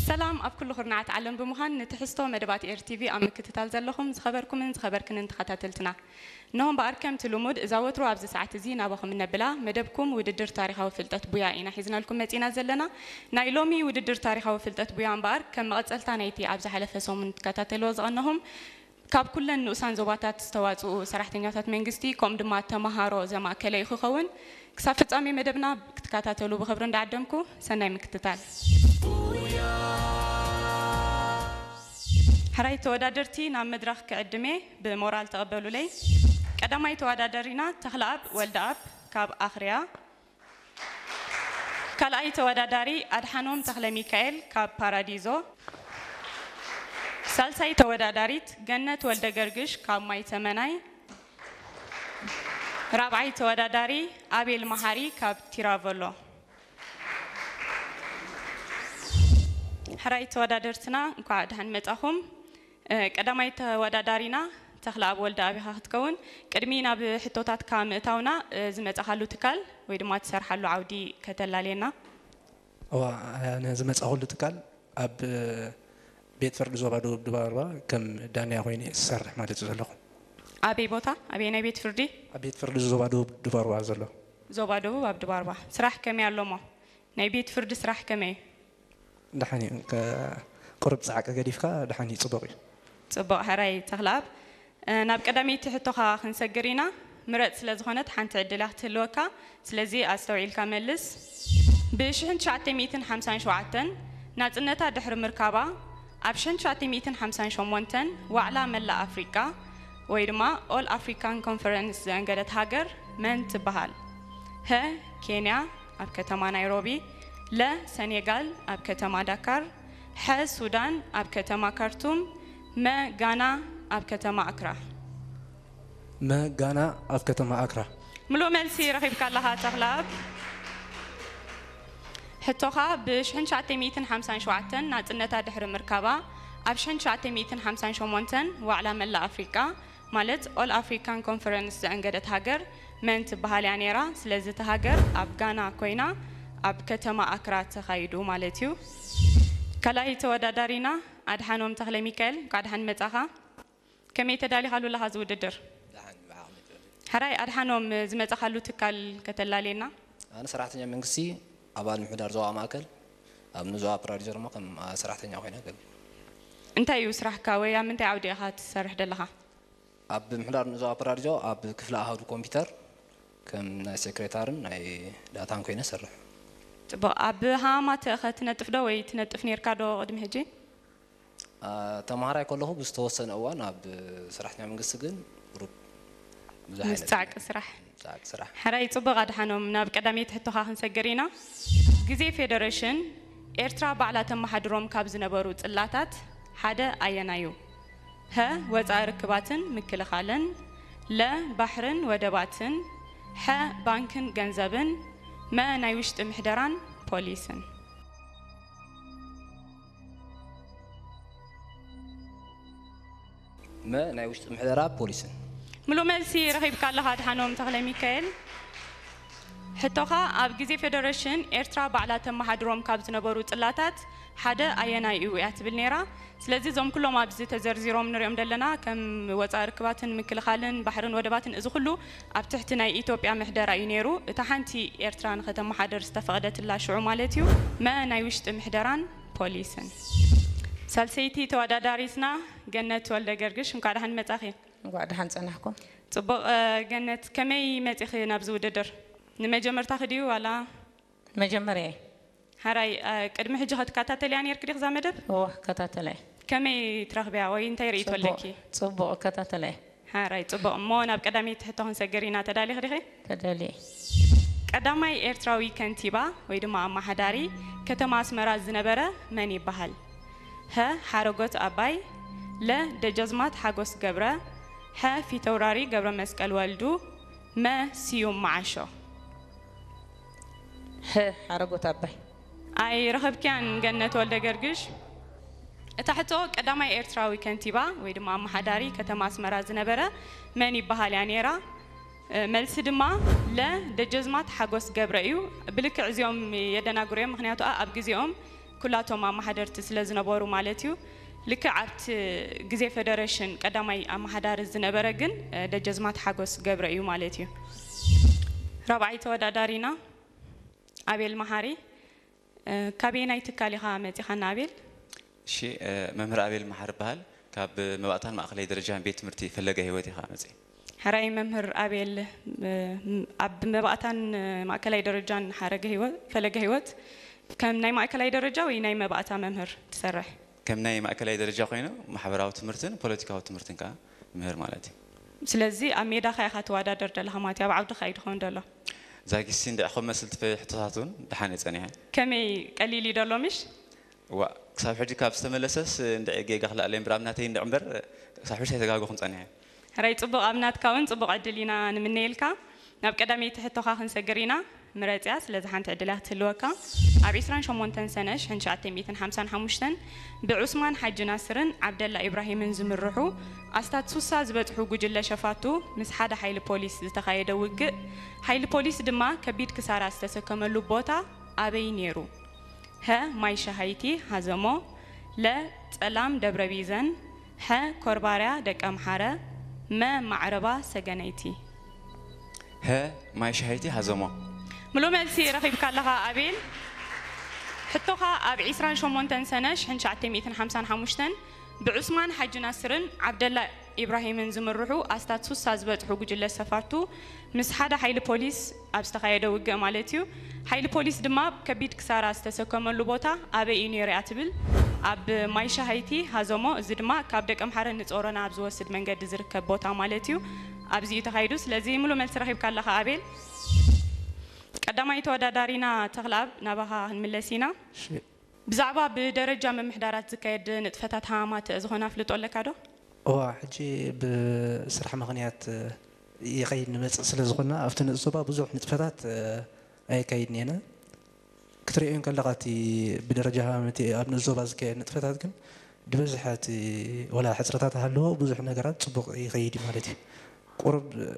ሰላም ኣብ ኩሉ ኩርናዓት ዓለም ብምዃን ንትሕዝቶ መደባት ኤር ቲቪ ኣብ ምክትታል ዘለኹም ዝኸበርኩምን ዝኸበርክንን ተኸታተልትና። እነሆ እምበኣር ከምቲ ልሙድ እዛ ወትሩ ኣብዚ ሰዓት እዚ ናባኹም እነብላ መደብኩም ውድድር ታሪኻዊ ፍልጠት ቡያ ኢና ሒዝናልኩም መጺና ዘለና። ናይ ሎሚ ውድድር ታሪኻዊ ፍልጠት ቡያ እምበኣር ከም መቐጸልታ ናይቲ ኣብ ዝሓለፈ ሰሙን ትከታተልዎ ዝቐነኹም ካብ ኩለን ንኡሳን ዞባታት ዝተዋጽኡ ሰራሕተኛታት መንግስቲ ከምኡ ድማ ተመሃሮ ዘማእከለ እዩ ክኸውን። ክሳብ ፍጻሜ መደብና ክትከታተሉ ብኽብሪ እንዳዓደምኩ ሰናይ ምክትታል። ሕራይ ተወዳደርቲ ናብ መድረኽ ክዕድሜ ብሞራል ተቐበሉለይ። ቀዳማይ ተወዳዳሪና ተኽለኣብ ወልደኣብ ካብ ኣኽርያ። ካልኣይ ተወዳዳሪ ኣድሓኖም ተኽለ ሚካኤል ካብ ፓራዲዞ። ሳልሳይ ተወዳዳሪት ገነት ወልደ ገርግሽ ካብ ማይ ተመናይ። ራብዓይ ተወዳዳሪ ኣቤል መሓሪ ካብ ቲራቨሎ። ሕራይ ተወዳደርትና እንኳዕ ደሓን መጻኹም። እ፣ ቀዳማይ ተወዳዳሪና ተኽለኣብ ወልደኣብ ኢኻ ክትከውን። ቅድሚ ናብ ሕቶታትካ ምእታውና፣ እ፣ ዝመጻኻሉ ትካል ወይ ድማ ትሰርሓሉ ዓውዲ ከተላልየና። እዋ፣ ኣነ ዝመጻኹሉ ትካል ኣብ ቤት ፍርዲ ዞባ ደቡብ ድባርባ ከም ዳንያ ኮይነ እየ ዝሰርሕ ማለት እዩ ዘለኹ። ኣበይ ቦታ? ኣበይ ናይ ቤት ፍርዲ? ኣብ ቤት ፍርዲ ዞባ ደቡብ ድባርባ ዘሎ። ዞባ ደቡብ ኣብ ድባርባ። ስራሕ ከመይ ኣሎሞ? ናይ ቤት ፍርዲ ስራሕ ከመይ እዩ? ደሓን እዩ። ከ-፣ ቁሩብ ጻዕቂ ገዲፍካ ደሓን እዩ፣ ጽቡቕ እዩ። ጽቡቕ፣ ሕራይ ተኽለኣብ። እ፣ ናብ ቀዳመይቲ ሕቶኻ ክንሰግር ኢና። ምረጽ ስለ ዝኾነት ሓንቲ ዕድል እያ ክትህልወካ። ስለዚ ኣስተውዒልካ መልስ። ብ ሽሕን ትሽዓተ ሚእትን ሓምሳን ሸውዓተን ናጽነታ ድሕሪ ምርካባ፣ ኣብ ሽሕን ትሽዓተ ሚእትን ሓምሳን ሸሞንተን ዋዕላ መላእ ኣፍሪቃ ወይ ድማ ኦል ኣፍሪካን ኮንፈረንስ ዘእንገደት ሃገር መን ትበሃል? ሀ፣ ኬንያ፣ ኣብ ከተማ ናይሮቢ። ለ፣ ሰኔጋል፣ ኣብ ከተማ ዳካር። ሐ፣ ሱዳን፣ ኣብ ከተማ ካርቱም። መ፣ ጋና፣ ኣብ ከተማ ኣክራ። መ፣ ጋና፣ ኣብ ከተማ ኣክራ። ምሉእ መልሲ ረኺብካ ኣለኻ ተኽለኣብ። ሕቶኻ፣ ብ ሽሕን ትሽዓተ ሚእትን ሓምሳን ሸውዓተን ናጽነታ ድሕሪ ምርካባ፣ ኣብ ሽሕን ትሽዓተ ሚእትን ሓምሳን ሸሞንተን ዋዕላ መላእ ኣፍሪቃ ማለት ኦል ኣፍሪካን ኮንፈረንስ ዘእንገደት ሃገር መን ትበሃል እያ ነይራ? ስለዚ እታ ሃገር ኣብ ጋና ኮይና ኣብ ከተማ ኣክራ ተኻይዱ ማለት እዩ። ካልኣይ ተወዳዳሪና ኣድሓኖም ተኽለ ሚካኤል፣ እንኳዕ ደሓን መጻኻ። ከመይ ተዳሊኻሉ ኣለኻ እዚ ውድድር? ደሓን ብዓቕሚ ትብል። ሕራይ ኣድሓኖም፣ ዝመጻኻሉ ትካል ከተላልየና? ኣነ ሰራሕተኛ መንግስቲ ኣባል ምሕዳር ዞባ ማእከል ኣብ ንዞባ ፕራዲዞ ድማ ከም ሰራሕተኛ ኮይነ ኣገልግል። እንታይ እዩ ስራሕካ ወይ ኣብ ምንታይ ዓውዲ ኢኻ ትሰርሕ ዘለኻ? ኣብ ምሕዳር ንዞባ ፕራዲዞ ኣብ ክፍሊ ኣሃዱ ኮምፒውተር ከም ናይ ሴክሬታርን ናይ ዳታን ኮይነ ሰርሕ። ጽቡቕ። ኣብ ሃማተ ኸ ትነጥፍ ዶ ወይ ትነጥፍ ኔርካ ዶ ቅድሚ ሕጂ? አ፣ ተምሃራይ ከለኹ ብዝተወሰነ እዋን ኣብ ሰራሕተኛ መንግስቲ ግን ቁሩብ ብዙሕ ምስ ዓይነት ጻዕቂ ስራሕ። ጻዕቂ ስራሕ። ሕራይ ጽቡቕ ኣድሓኖም፣ ናብ ቀዳመይቲ ሕቶኻ ክንሰግር ኢና። ግዜ ፌደሬሽን ኤርትራ ባዕላ ተመሓድሮም ካብ ዝነበሩ ጽላታት ሓደ ኣየናይ እዩ? ሀ፣ ወጻኢ ርክባትን ምክልኻልን፣ ለ፣ ባሕርን ወደባትን፣ ሐ፣ ባንክን ገንዘብን፣ መ፣ ናይ ውሽጢ ምሕደራን ፖሊስን። መ፣ ናይ ውሽጢ ምሕደራ ፖሊስን። ምሉእ መልሲ ረኺብካ ኣለኻ ኣድሓኖም ተኽለ ሚካኤል። ሕቶኻ፣ ኣብ ግዜ ፌደሬሽን ኤርትራ ባዕላ ተመሓድሮም ካብ ዝነበሩ ጽላታት ሓደ ኣየናይ እዩ እያ ትብል ነይራ። ስለዚ እዞም ኩሎም ኣብዚ ተዘርዚሮም ንሪኦም ዘለና ከም ወጻኢ ርክባትን ምክልኻልን ባሕርን ወደባትን እዚ ኩሉ ኣብ ትሕቲ ናይ ኢትዮጵያ ምሕደራ እዩ ነይሩ። እታ ሓንቲ ኤርትራ ንኸተመሓደር ዝተፈቐደትላ ሽዑ ማለት እዩ። መ፣ ናይ ውሽጢ ምሕደራን ፖሊስን። ሳልሰይቲ ተወዳዳሪትና ገነት ወልደ ገርግሽ፣ እንኳዕ ደሓን መጻኺ። እንኳዕ ደሓን ጸናሕኩም። ጽቡቕ። እ፣ ገነት፣ ከመይ መጺኺ ናብዚ ውድድር? ንመጀመርታኺ ድዩ ዋላ? መጀመርያ። ሓራይ፣ እ፣ ቅድሚ ሕጂ ከትከታተልያ ኔርኪ ዲኺ እዛ መደብ? እወ፣ እከታተላ እየ። ከመይ ትረኽብያ ወይ እንታይ ርእይቶ ኣለኪ? ጽቡቕ፣ እከታተላ እየ። ሓራይ፣ ጽቡቕ። እሞ ናብ ቀዳመይቲ ሕቶ ክንሰግር ኢና። ተዳሊኺ ዲኺ? ተዳልየ። ቀዳማይ ኤርትራዊ ከንቲባ ወይ ድማ ኣመሓዳሪ ከተማ ኣስመራ ዝነበረ መን ይበሃል? ሀ፣ ሓረጎት ኣባይ። ለ፣ ደጃዝማት ሓጎስ ገብረ። ሐ፣ ፊተውራሪ ገብረ መስቀል ወልዱ። መ፣ ስዩም መዓሾ። ሀ፣ ሓረጎት ኣባይ። ኣይረኸብክያን ገነት ወልደ ገርግሽ። እታ ሕቶ፣ ቀዳማይ ኤርትራዊ ከንቲባ ወይ ድማ ኣመሓዳሪ ከተማ ኣስመራ ዝነበረ መን ይበሃል እያ ነይራ? እ፣ መልሲ ድማ ለ፣ ደጀዝማት ሓጎስ ገብረ እዩ። ብልክዕ እዚኦም የደናግሩ እዮም፣ ምኽንያቱ ኣብ ግዜኦም ኩላቶም ኣመሓደርቲ ስለ ዝነበሩ ማለት እዩ። ልክዕ ኣብቲ ግዜ ፌደሬሽን ቀዳማይ ኣመሓዳሪ ዝነበረ ግን ደጀዝማት ሓጎስ ገብረ እዩ ማለት እዩ። ራብዓይ ተወዳዳሪና ኣቤል መሓሪ። ካበየናይ ትካል ኢኻ መፂኻና ኣቤል? እሺ፣ መምህር ኣቤል መሓሪ ይበሃል። ካብ መባእታን ማእኸላይ ደረጃን ቤት ትምህርቲ ፈለገ ህይወት ኢኻ መፂ። ሕራይ መምህር ኣቤል፣ ኣብ መባእታን ማእከላይ ደረጃን ሓረገ ህይወት ፈለገ ህይወት ከም ናይ ማእከላይ ደረጃ ወይ ናይ መባእታ መምህር ትሰርሕ? ከም ናይ ማእከላይ ደረጃ ኮይኑ ማሕበራዊ ትምህርትን ፖለቲካዊ ትምህርትን ከዓ ምህር ማለት እዩ። ስለዚ ኣብ ሜዳኻ ኢኻ ትወዳደር ዘለኻ ማለት እዩ፣ ኣብ ዓውድኻ እዩ ድኸውን ዘሎ። ዛጊሲ እንድዒ ከም መስል ትፈ ሕቶታት እውን ደሓን እየ ጸኒሐ። ከመይ ቀሊል እዩ ደሎ ምሽ? ዋ ክሳብ ሕጂ ካብ ዝተመለሰስ እንድዒ ጌጋ ክልኣለ እምበር ኣብ ናተይ እንድዒ እምበር ክሳብ ሕጂ ኣይተጋገኹን ጸኒሐ። ሕራይ ጽቡቕ፣ ኣብ ናትካ እውን ጽቡቕ ዕድል ኢና ንምነየልካ። ናብ ቀዳመይቲ ሕቶኻ ክንሰግር ኢና። ምረጽያ፣ ስለዚ ሓንቲ ዕድል እያ ክትህልወካ። ኣብ ዒስራን ሸሞንተን ሰነ ሽሕን ትሽዓተ ሚእትን ሓምሳን ሓሙሽተን ብዑስማን ሓጂ ናስርን ዓብደላ ኢብራሂምን ዝምርሑ ኣስታት ሱሳ ዝበጽሑ ጉጅለ ሸፋቱ ምስ ሓደ ሓይሊ ፖሊስ ዝተኻየደ ውግእ፣ ሓይሊ ፖሊስ ድማ ከቢድ ክሳራ ዝተሰከመሉ ቦታ ኣበይ ነይሩ? ሀ፣ ማይ ሸሃይቲ ሃዘሞ፣ ለ፣ ጸላም ደብረ ቢዘን፣ ሐ፣ ኮርባርያ ደቀምሓረ፣ መ፣ ማዕረባ ሰገነይቲ። ሀ፣ ማይ ሸሃይቲ ሃዘሞ። ምሉእ መልሲ ረኺብካ ኣለኻ ኣቤል። ሕቶኻ ኣብ ዒስራን ሸሞንተን ሰነ ሽሕን ትሽዓተ ሚእትን ሓምሳን ሓሙሽተን ብዑስማን ሓጂ ናስርን ዓብደላ ኢብራሂምን ዝምርሑ ኣስታት ሱሳ ዝበጽሑ ጉጅለ ሰፋቱ ምስ ሓደ ሓይሊ ፖሊስ ኣብ ዝተኻየደ ውግእ ማለት እዩ። ሓይሊ ፖሊስ ድማ ከቢድ ክሳራ ዝተሰከመሉ ቦታ ኣበይ እዩ ነይሩ እያ ትብል። ኣብ ማይ ሸሃይቲ ሃዘሞ፣ እዚ ድማ ካብ ደቀምሓረ ንጾሮና ኣብ ዝወስድ መንገዲ ዝርከብ ቦታ ማለት እዩ። ኣብዚ እዩ ተኻይዱ። ስለዚ ምሉእ መልሲ ረኺብካ ኣለኻ ኣቤል። ቀዳማይ ተወዳዳሪና ተኽለኣብ ናባኻ ክንምለስ ኢና። ብዛዕባ ብደረጃ ምምሕዳራት ዝካየድ ንጥፈታት ሃማማት ዝኾነ ኣፍልጦ ኣለካ ዶ? እዋ፣ ሕጂ ብስራሕ ምኽንያት ይኸይድ ንመጽእ ስለ ዝኾንና ኣብቲ ንእስ ዞባ ብዙሕ ንጥፈታት ኣየካይድን ኢና። ክትርእዮ እንከለኻ እቲ ብደረጃ ሃማማት ኣብ ንእስ ዞባ ዝካየድ ንጥፈታት ግን ዝበዝሐ እቲ ወላ ሕጽረታት ሃለዎ ብዙሕ ነገራት ጽቡቕ ይኸይድ እዩ ማለት እዩ። ቁሩብ